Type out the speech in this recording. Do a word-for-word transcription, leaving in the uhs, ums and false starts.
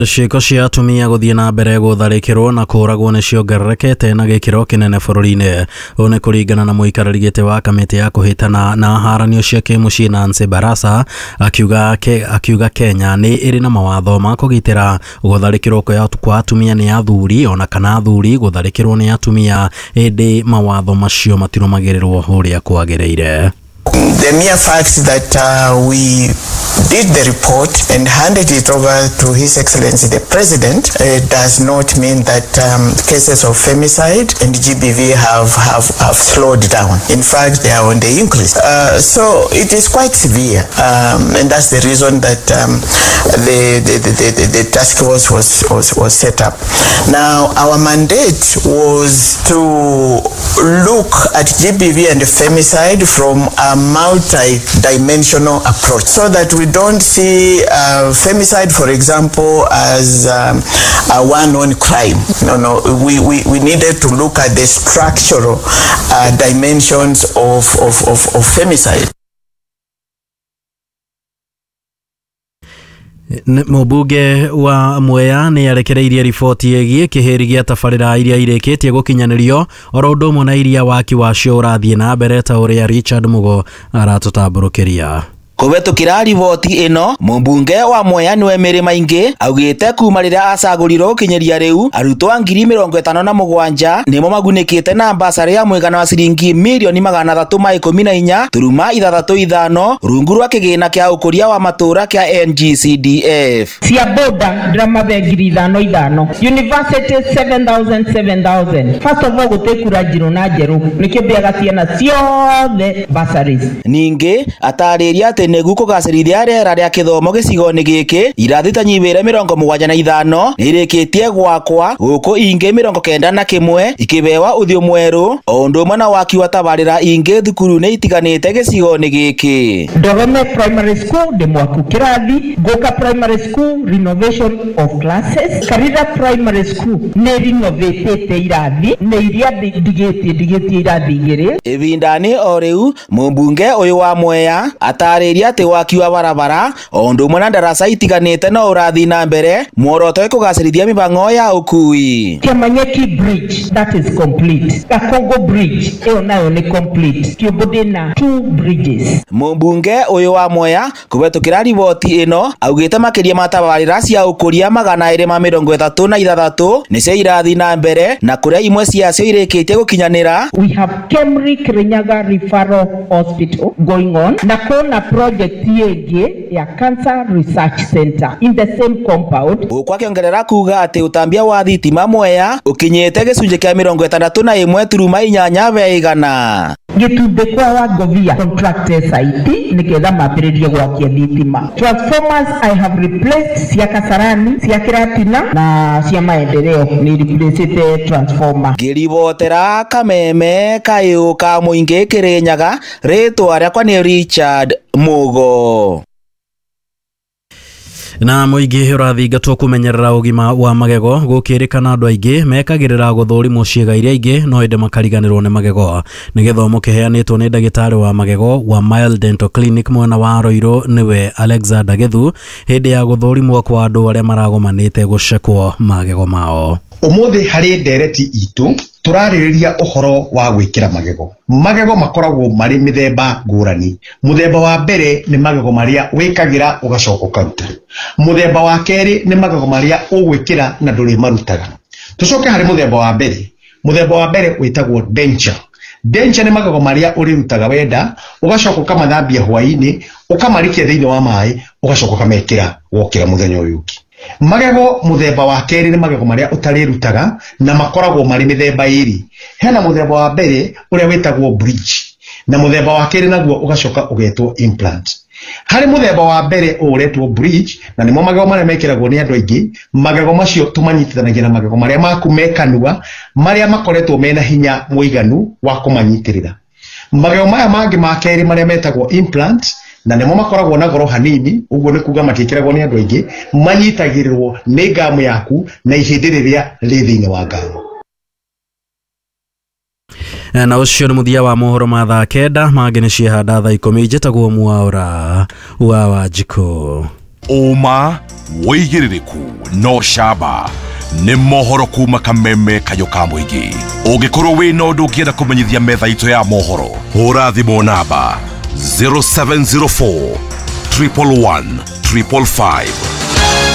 Ciĩko cia atumia gũthiĩ na mbere gũtharĩkĩrwo na kũũragwo nĩ ciongererekete na gĩkĩro kĩnene bũrũri-inĩ. Ũũ nĩ kũringana na mũikarĩri gĩtĩ wa kamĩtĩ ya kũhĩtana na haranio cia kĩmũciĩ Nancy Baraza, akiuga ke, akiuga Kenya nĩ ĩrĩ na mawatho ma kũgitĩra gũtharĩkĩrwo kwa atumia nĩ athuri ona kana athuri gũtharĩkĩrwo nĩ atumia, ĩndĩ mawatho macio matirũmagĩrĩrwo ũrĩa kwagĩrĩire. The mere fact that uh, we did the report and handed it over to His Excellency the President uh, does not mean that um, cases of femicide and G B V have, have, have slowed down. In fact, they are on the increase. Uh, so it is quite severe, um, and that's the reason that um, the, the, the, the, the task force was, was, was set up. Now, our mandate was to look at G B V and femicide from a multi-dimensional approach, so that we don't see uh, femicide, for example, as um, a one-on crime. No, no, we, we, we needed to look at the structural uh, dimensions of, of, of, of femicide. Mũmbunge wa Mwea nĩ arekereirie riboti ĩgiĩ kĩhĩri gĩa tabarĩra iria irĩkĩtie gũkinyanĩrio oro ũndũ ũmwe na iria waki wacio ũrathiĩ na mbere ta ũrĩa Richard Mugo aratũtambũrũkĩria. Kũhetũkĩra riboti ĩno, mũmbunge wa Mwea nĩwe Mary Maingi augĩte kuma rĩrĩa acagũrirwo gũkinyĩria rĩu arutwo ngiri mĩrongo ĩtano na mũgwanja nĩmo magunĩkĩte na basarĩ ya mũigana wa ciringi mirioni magana athatũ ma ikũmi na inya turuma ithathatũ ithano rungu rwa kĩgĩna kĩa ũkũria wa matũũra kĩa N G C D F. Cia boda ndĩramabe ngiri ithano ithano, university seven thousand seven thousand. First of all gũtĩ kura njirũ na njerũ nĩkĩo mbĩaga ciana ciothe bursaries. Ningĩ atarĩria atĩ nĩguo kũgacĩrithia rĩera rĩa kĩthomo gĩcigo-inĩ gĩkĩ irathi ta nyihĩre mĩrongo mũgwanja na ithano nĩirĩkĩtie gwakwa gũkũ ingĩ mĩrongo kenda na kĩmwe ikĩbewa ũthiũ mwerũ o ũndũ ũmwe na waki wa tabarĩra ingĩ thukuru-inĩ itiganĩte gĩcigo-inĩ gĩkĩ. Ndorome Primary School ndĩ mwaku kĩrathi, Ngũka Primary School renovation of classes, Karira Primary School nĩ rinovatĩte irathi nĩ iria ndigĩtie ndigĩtie irathi igĩrĩ. Ĩbinda-inĩ o rĩu mũmbunge ũyũ wa Mwea atarĩria atĩ waki wa barabara o ũndũ ũmwe na ndaraca itiganĩte no ũrathiĩ na mbere muoroto kũgacĩrithia mĩhang'o ya ũkui. Kĩamanyeki Bridge that is complete, Gakongo Bridge ĩyo nayo nĩ complete, Kĩũmbũ ndĩna two bridges. Mũmbunge ũyũ wa Mwea kũhetũkĩra riboti ĩno augĩte makĩria ma tabarĩra cia ũkũria magana ĩrĩ ma mĩrongo ĩtatũ na ithathatũ nĩcio irathiĩ na mbere na kũrĩa imwe ciacio irĩkĩtie gũkinyanĩra. We have Kemri Kirinyaga Referral Hospital going on na kuna project ĩngĩ ya Cancer Research Center in the same compound. Gũkũ akĩongerera kuga atĩ ũtambia wa thitima Mwea ũkinyĩte gĩcunjĩ kĩa mĩrongo ĩtandatũ na ĩmwe turuma inyanya be igana. Gĩtumbĩ kwa Wangovia contracted site nĩgetha mambĩrĩrie gwakia thitima. Transformers I have replaced cia Kasarani, cia Kĩratina na cia Maendeleo nĩ replaced transformer. Ngĩribotera kameme kayũ ka mũingĩ Kĩrĩnyaga, rĩtwa rĩakwa nĩ Richard Mugo. Na mũingĩ ũrathingatwo kũmenyerera ũgima wa magego gũkĩrĩkana andũ aingĩ mekagĩrĩra gũthũrimwo ciĩga iria ingĩ no ĩndĩ makariganĩrwo nĩ magego. Nĩ gĩthomo kĩheanĩtwo nĩ ndagĩtarĩ wa magego wa Mile Dental Clinic mwena wa Roiro nĩwe Alexander Githu hĩndĩ ya gũthũrimwo kwa andũ arĩa maragomanĩte gũcekwo magego mao. Ũmũthĩ harĩ ndereti itũ tũrarĩrĩria ũhoro wa gwĩkĩra magego. Magego makoragwo marĩ mĩthemba ngũrani. Mũthemba wa mbere nĩ magego marĩa wĩkagĩra ũgacoka ũkaruta. Mũthemba wa kerĩ nĩ magego marĩa ũgwĩkĩra na ndũrĩmarutaga. Tũcoke harĩ mũthemba wa mbere. Mũthemba wa mbere wĩtagwo denture. Denture nĩ magego marĩa ũrĩrutaga wenda, ũgacoka ũkamathambia hwaĩ-inĩ, ũkamarikia thĩinĩ wa maĩ, ũgacoka ũkamekĩra wokĩra mũthenya ũyũ ũngĩ. Magego mũthemba wa kerĩ nĩ magego marĩa ũtarĩrutaga na makoragwo marĩ mĩthemba ĩrĩ. Hena mũthemba wa mbere ũrĩa wĩtagwo bridge na mũthemba wa kerĩ naguo ũgacoka ũgetwo implant. Harĩ mũthemba wa mbere ũretwo bridge na nĩmo magego marĩa mekĩragwo nĩ andũ aingĩ, magego macio tũmanyitithanagia na magego marĩa maku me kanua marĩa makoretwo mena hinya mũiganu wa kũmanyitĩrĩra. Magego maya mangĩ ma kerĩ marĩa metagwo implant na nĩmo makoragwo na goro hanini, ũguo nĩ kuga matiĩkĩragwo nĩ andũ aingĩ, manyitagĩrĩrwo nĩ ngamu yaku na ihĩndĩ rĩrĩa rĩ thĩinĩ wa ngamu. Na ũcio nĩ mũthia wa mohoro ma thaa kenda mangĩ nĩ ciehanda thaa ikũmi. Njĩtagwo Mwaũra wa Wanjikũ. Ũma, wĩigĩrĩrĩku no camba nĩ mohoro kuma kameme kayũ ka mũingĩ. Ũngĩkorwo wĩna ũndũ ũngĩenda kũmenyithia metha itũ ya mohoro, hũra thimũ namba zero seven zero four triple one triple five.